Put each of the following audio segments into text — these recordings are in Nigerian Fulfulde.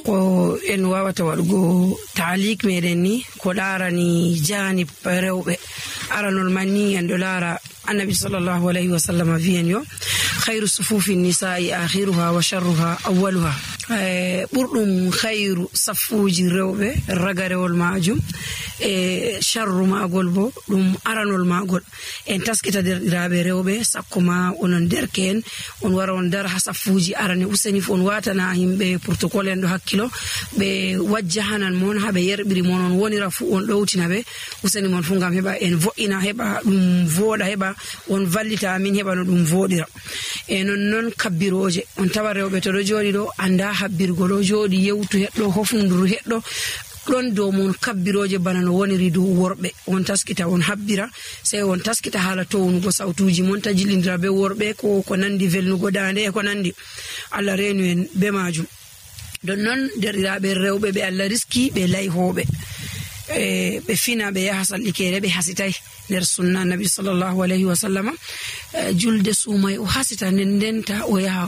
ko en wawata waɗugo taalik meɗen ni ko larani janib rewɓe. Aranol man ni en ɗo lara annabi sallallahu alayhi wa sallam wiyen yo khayru sufufi nisa'i akhiruha wa sharruha awwaluha. Ɓurɗum khayru safuji rewɓe ragarewol majum e sharru magol bo ɗum aranol magol. En taskita derɗiraɓe rewɓe sakko ma onon derken on wara on dar ha safuji arane useni on watana himɓe protocole en ɗo hakkilo ɓe wajja hanan mon haɓe yerɓiri mon on wonira fu on ɗowtina ɓe useni mon fu ngam heɓa en vo'ina heɓa ɗum voɗa heɓa on vallita amin heɓa no ɗum voɗira. E non kabbiroje on tawa rewɓe to ɗo joɗi ɗo anda habbirgo ɗo joɗi yewtu heɗɗo hofnuduru heɗɗo ɗon dow mon kabbiroje bana no woniri dow worɓe. On taskita on habbira sey on taskita haala townugo sautuji mon ta jillindira be worɓe ko nandi velnugo dande e ko nandi. Allah renu en be majum. Don non derɗiraɓe rewɓe ɓe Allah riski ɓe layhoɓe ɓe fina ɓe yaha sallikere ɓe hasitay nder sunna nabi sallallahu alayhi wa sallam. Julde suumay o hasita ndenta o yaha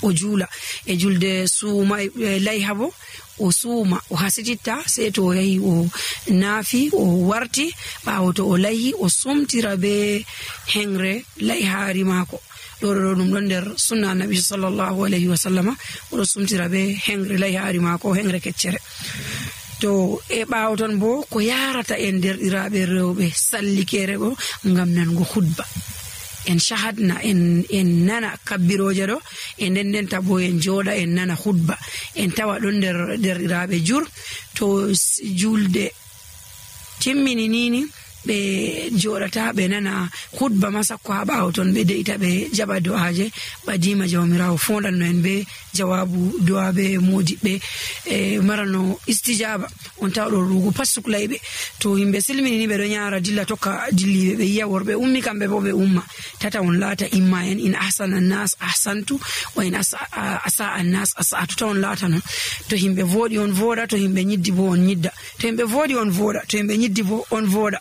o juula e julde suumay layha bo o suuma o hasititta sey to o yahi o naafi o warti ɓawo to o layhi o sumtira be hengre layhaari maako. ɗo ɗum ɗon nder sunna nabi sallallahu alayhi wa sallam oɗo sumtira be hengre layhaari maako hengre keccere. To e ɓaawo ton bo ko yarata en derɗiraɓe rewɓe sallikere ɗo ngam nango hudba en shahadna en nana kabbiroje ɗo e ndendenta bo en jooɗa en nana hudba en tawa ɗon nder derɗiraɓe jur to julde timmini nini ɓe joɗata ɓe nana hudba masakko ha ɓawo ton ɓe deita ɓe jaɓa do'aje ɓadima jawmirawo fondanno en be jawabu do'a be modiɓɓe e marano istijaba on tawa ɗo rugo pat suklayɓe. To yimɓe silmini ni ɓe ɗo ñara dilla tokka dilliɓe ɓe yiya worɓe ummi kamɓe bo ɓe umma tata on laata imma en in ahsana annas ahsantu wa in asa annas asa'tu ta on laata non. To yimɓe voɗi on voɗa to yimɓe ñiddi bo on ñidda to yimɓe voɗi on voɗa to yimɓe ñiddi bo on voɗa.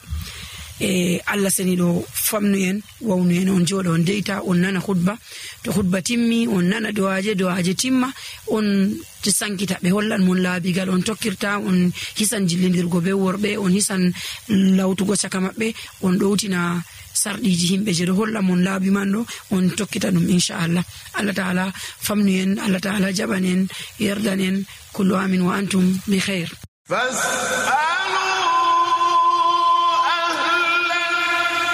Allah seni ɗo famnu en wawnu en on jooɗa on deita on nana hudba to hudba timmi on nana do'aje timma on sankita ɓe hollan mon laabigal on tokkirta on hisan jillindirgo be worɓe on hisan lawtugo caka maɓɓe on ɗowtina sarɗiji himɓe je ɗo holla mon laabi man ɗo on tokkita ɗum inchallah. Allah ta'ala famnu en Allah ta'ala jaɓan en yerdan en kullu amin wa antum bi khair.